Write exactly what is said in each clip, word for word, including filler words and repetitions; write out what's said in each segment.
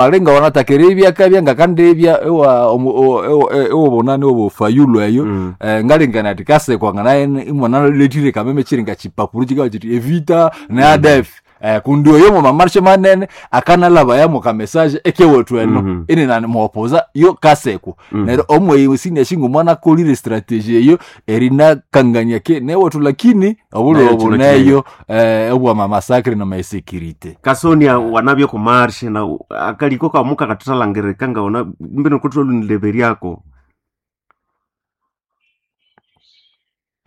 Alinga wanatakira ibyakabya ngakandibya ewa omu- o- ewa- ewobonani obofayulu eyo. Mm. Eh, ngalingana ati kasekwa nganaye imwana letire kameme chiringa chipapuro chikawa chiti evita ne A D F, eh, kundi oyo mu mamarshe manene akanalaba yamo ka message ekewethu eno. Mhm. Ine nani muopoza yo kasekwa. Mhm. Neryo omwe sine shingo mwana kolire strategy eyo erinakangania ke newethu, lakini obulo Nayo kino obuneyo eh, obwa mamasakre na masekirite. Kasonia wanabye ku marshe na akaliko kamuka katuthalangirika ngaona mbino kutholunileberyako.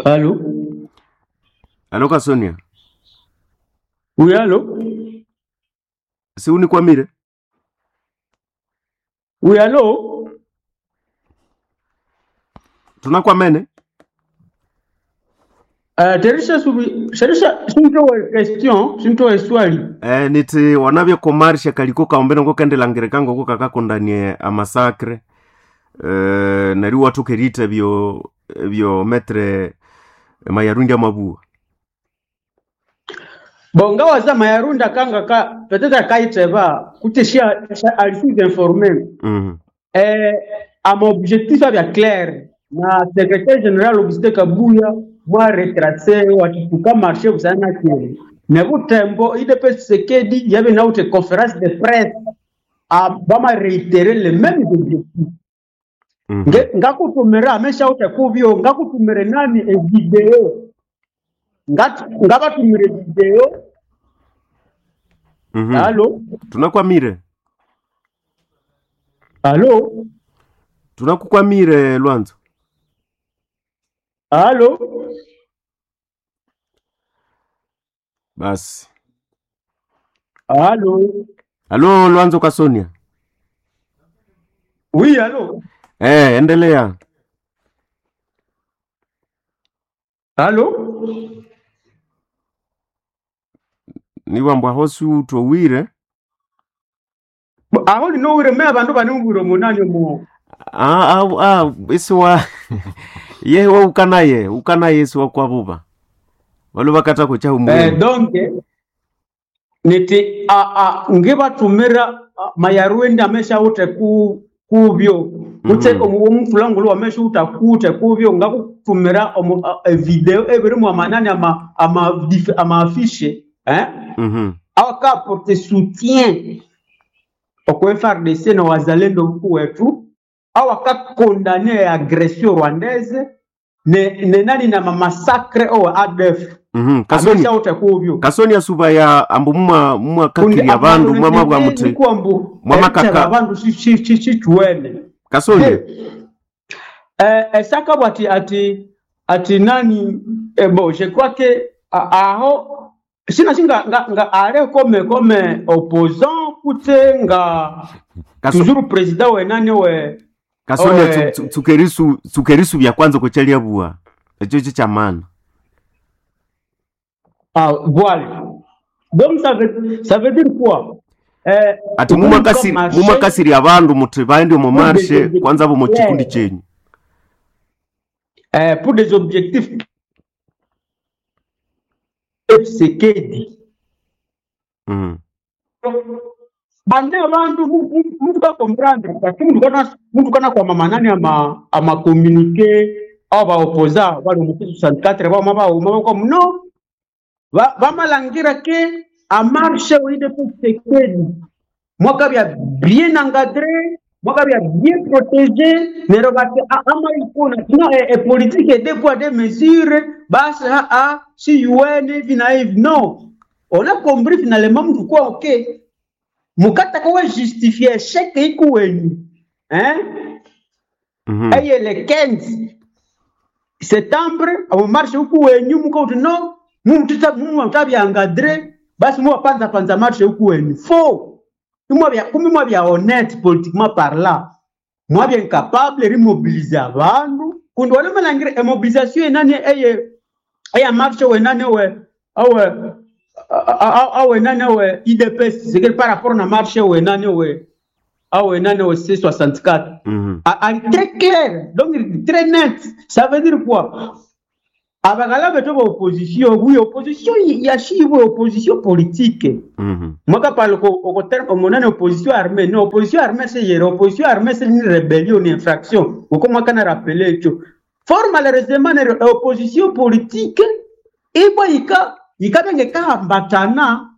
Allô? Alo Kasonia. Oui, allô? Siunikwamire. Oui, allô? Tunakwamene. Uh, Terisha subi, Terisha sintowe question, sintowe swali. Eh, niti wanabye ku marshe kaliko kaumbino ngokendelangirika ngoko kakakundanie amasakre, eh, neri wathukerite byo byo metre Mayarundi amabua. Bon, ngawa za Mayarunda kanga ka peut-être kaiteba kuteshia alisi informé. mm. Eh, ama objectif abya clair na secrétaire général Augustin Kabuya mwa retracé watituka marché busana kieni. Ne butembo I D P Tshisekedi yabe na ute conférence de presse a bama réitérer les mêmes objectifs. mm Nge- ngakutumira amesha utekuvyo, ngakutumire nani evideo, Ngat- ngabatumire video. mm -hmm. Alo? Tunakwamire. Alo? Tunakukwamire Lwanzo. Alo? Basi. Alo? Alo Lwanzo Kasonia. Oui, alo? Eh, endelea. Alo? Niwambwa hosi utowire. Bo, aho ninowire me abandu banungwire omunani omu. Ah, ah, ah, isiwa yewe ukanaye ukanaye isiwa kwabuba valo vakata kucha Eh, umwenu. donc niti a, a, ngibatumira a, Mayarwende amesha ute ku kubyo kutse. Mhm. mm. Omufulangulu wamesha uta kute kubyo ngakutumira omu a- e video ebirimu amanani ama ama dif- ama affiche eh Mhm. awaka porte soutien okw F A R D C na wazalendo huku wetu, awaka condamner agression rwandaise ne, ne nani na mamasacre o A D F. Mhm. Kasoni Amesha ute kubyo. Kasoni asuba ya ambu muma muma Kundi kakiri abandu mwama bwa muti nikwambu mwama kaka abandu chichuene. Kasoni. Eh, esaka bwati ati ati nani, eh, bon, je crois que a- aho sina singa nga, nga ale comme comme opposant kute nga Kaso, toujours président we nani we Kasoni owe tsu- tsukerisu tsukerisu bya kwanza kuchalia bua echo cho chamana. Ah, voilà, donc ça veut ça veut dire quoi, eh, Ati ubundi kwa mumakasiri marché mumakasiri abandu muti baende omu pour des marshe objectifs kwanza bo mu chikundi clairs, chenyu. eh, pour des objectifs Tshisekedi. Mhm. Bande abantu muntu bakomprendre parce que muntu kana muntu kana kwa manani ama ama communiqué au ba opposa bali mu soixante-quatre ba ma ba ma comme non ba bamalangira ke a marche oui de Tshisekedi mwaka bya bien encadré, mwaka bya bien protégé, nero bati a- ama ikona no e, e politique et deux poids deux mesures basi a a si U N hivi na hivi. Non, on a compris finalement mtu kwa ok mukata kwa justifier échec ikuwenyu hein. Mhm. Eye le quinze septembre abo marche huku wenyu mukauti no mumtuta mumtabya encadré basi muwapanza panza marche huku wenyu faux. Imwabya kumi mwabya honnête politiquement parlant, mwabya incapable rimobilize abandu kundi wanamalangire emobilisation enani eye eya marche wenani we awe awe nani we U D P S c'est par rapport na marche wenani we awe nani we C soixante-quatre. Mhm. Ah, ah, très clair, donc très net. Ça veut dire quoi? Abaghala betu ba opposition, oui, opposition yashibwe opposition politique. Mhm. Mwaka pale ko ko terme omonane opposition armée, non opposition armée c'est yere, opposition armée c'est une rébellion, une infraction. Uko mwaka na rappeler ekyo. Fort malheureusement ne opposition politique ibwa ika ikabenge kahambatana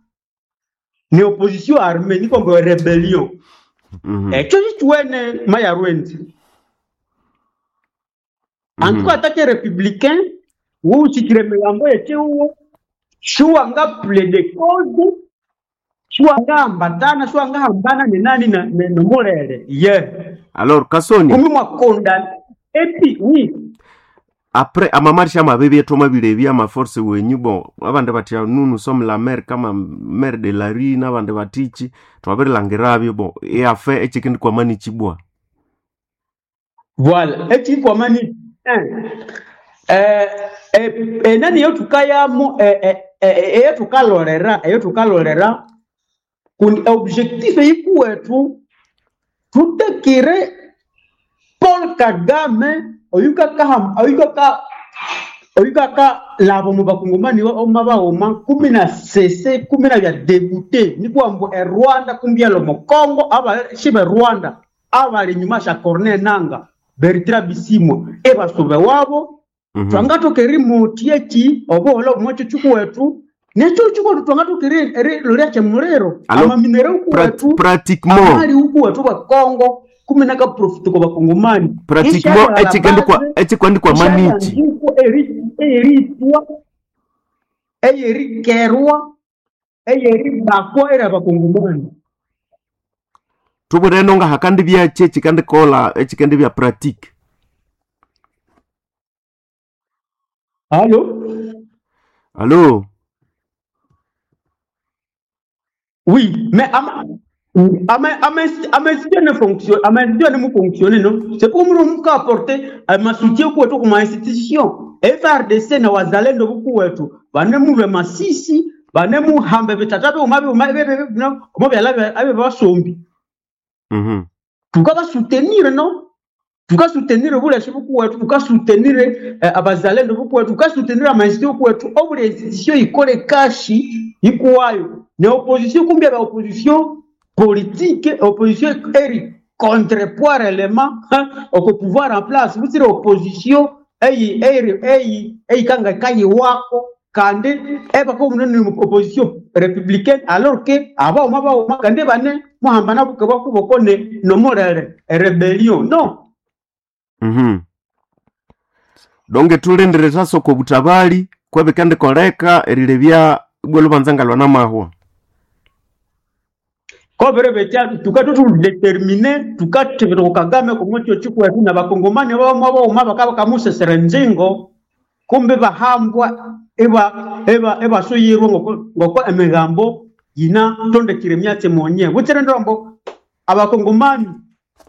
ni opposition armée ni kombo rébellion. Mhm. Ekyo kikiwene maya rwendi. En tout cas, attaque républicain, ou si tu milambo yechiwo, shuwa nga plaider cause, shuwa nga ambatana, shuwa nga hambana ni nani na na nomolele. Yeah. Alors Kasoni, Kumi mwakonda. Et puis, oui, après amamarche amabibi etwamabire ama force wenyu bon abandi batia nous nous sommes la mer kama mer de la rue n'abandi batichi twabirilangirabyo bon eafe echikindi kwamani chibwa voilà. Et puis, kwa mani, eh, eh, eh, nani yo tukayamo, eh, eh, eh, eyo tukalolera, eyo tukalolera, kundi objectif yikuwetu, tutekire Paul Kagame oyukaka oyukaka oyukaka labo mu bakongomani oma baoma kumi na sese kumi na bya dégoûté nikwambu e Rwanda kumbi alo mu Congo aba shibe Rwanda abali nyuma sha Corneille Nanga Bertrand Bisimwa ebasobe wabo. Mhm. Twangatokeri muti eki obuholo bumwe chukuwetu necho chukuwetu twangatokeri eri lolya chemulero Alors, amaminero Prat ukuwetu pratiquement amali ukuwetu ba Congo kumi na kaprofiti kwa bakongomani pratiquement echikindi kwa echikwandi kwa manichi eritwa eyerikerwa eyeribakwa era bakongomani tubuleno nga hakandi byache echikandi kola echikandi bya pratique. Allo? Allo? Oui, mais ama ama ama ama institution ne fonctionne, ama institution ne fonctionne non. C'est pour nous nous apporter ama soutien kwa tu kuma institution. F R D C na wazalendo buku wetu. Bane mu lwe masisi, bane mu hambe bitata be umabe umabe be no, umabe alabe abe basombi. Mhm. Tukaba soutenir non? Tuka soutenir bule shibuku wetu, tuka soutenir eh, abazalendo buku wetu, tuka soutenir ama institution kwetu. Obule institution ikole kashi ikuwayo. Ne opposition kumbia ba opposition politique, opposition eri contrepoids élément au pouvoir en place. Vous dire opposition eyi eri eyi eyi kanga kayi wako kande eba ko munene opposition républicaine alors que aba oma ba oma kande bane muhambana buke bakuboko ne no morale rébellion non. Mhm. Donge tulendere sasoko butabali kwebikandi koleka erilebya ibwe lubanza ngalwa namahwa. Kobere becha tuka tutu déterminer tuka tebero Kagame kumutyo chikwetu na bakongomani bamwe boma bakaba kamusesera nzingo kumbe bahambwa eba eba eba suyirwa ngoko ngoko emigambo yina tondekire myatse monye butsere ndombo abakongomani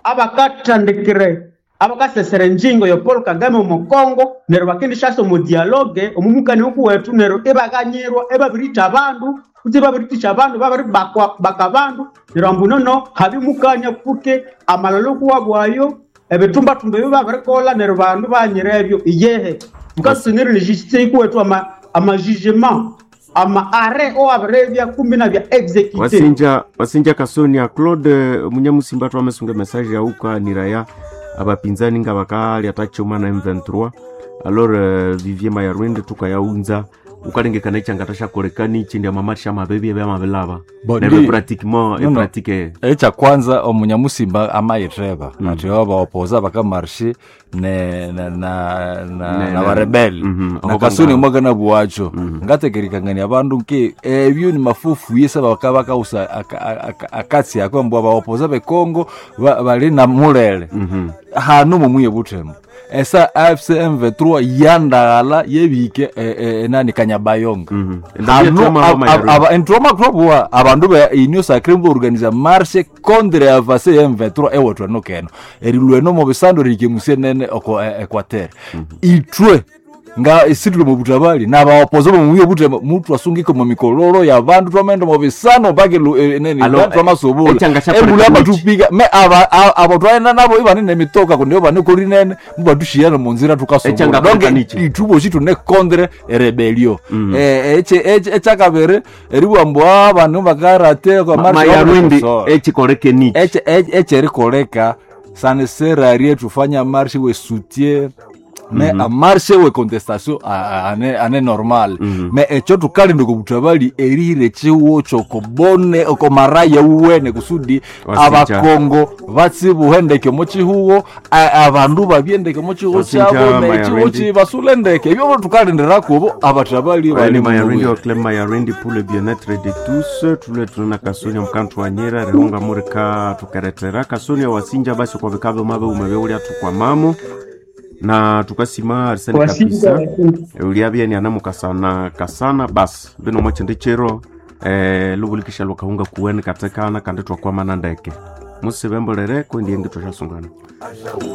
abakatandikire abakasesera nzingo yo Paul Kagame mu Kongo nero bakindishaso mu dialogue omumukani okuwetu nero ebaganyirwa ebabirita abandu kuti babiritisha abandu babiri bakwa bakabandu nero ambu nono habimukanya kuke amalalo kuwabwayo ebitumbatumba ebyo babirikola nero bandu banyira ebyo iyehe tukasunira ni justice ikuwetu ama ama jugement ama arrêt o abirebya kumbi na bya exécuté. Wasinja wasinja Kasonia Claude Munyamusimba twamesunga message yauka niraya abapinzani nga bakali atachoma na M vingt-trois alors euh, Vivier Mayarwende tukayaunza ukalengekana ichangatashakolekani ichi amamarsha amabebi ebyamabilaba Bo, nebe ndi- pratiquement No, no. epratique echa kwanza omunyamusimba amayitheba mm. ati obaopoza bakamarshe ne na na na, Ne- na ne- barebeli Mhm, na aho kasuni banga- mwaka na buwacho ngatekerikangania abandu nke ebyo ni mafufu yesa baka bakausa akatsi ako mbwa baopoza bekongo ba- bali na mulele Mhm. hanu mumwiye buthembo esa A F C M vingt-trois yandaghala yebike eh, eh, nani kanyabayonga Mhm. hanu Ndabyetema ab- Mayarwende. ab- aba entroma krobuwa abandu be union sacrée organisa marche contre avance ya M vingt-trois ewethu eno keno erilweno mu bisandu rikemusie nene oko e- equateur itwe Nga isitule mubutabali nabaopoza bomuyo bute mutu asungike mu mikololo ya bandu twamaenda mu bisano mpaka lu- eh, nini Alo, bandu twamasubula echanga sha embula President. batupiga me aba a- abo twaenda nabo ibanene mitoka kundi banekori nene mubatushiyana munzira tukasubula Echanga donc President. itubo tune contre rebellion eh eche eche echakabere eribwambwa abantu bakarate kwa marche Mayarwindi so echikoleke nichi eche echerikoleka saneserarie tufanya marche we soutien mais mm -hmm. a marche we contestation a- a- ane, ane normal mm -hmm. mais echo tukalinda kubutabali erihire chiwo chokobone okomaraya uwene kusudi Wasinja. abakongo batsibuhe ndeke muchihuwo a- abandu babye ndeke muchihuwo Wasinja, kyabo nechihuwo Mayarwindi. chibasule ndeke ebyo tukalindirako abatabali Bali bali Mayarwindi mu Oclem Mayarwindi pour le bien-être de tous tule tuna kasonia mkantu wanyera rehunga murika tukeretera kasonia wasinja basi kwa vikavyo mabe umebeulia tukwamamo na tukasima arsene Wasinja, kabisa uliabia ni anamukasana kasana basi bino mwachende chero eh, lubulikisha lukahunga kuweni katekana kandi twakwamana ndeke musibembolere kwendi yengi twashasungana.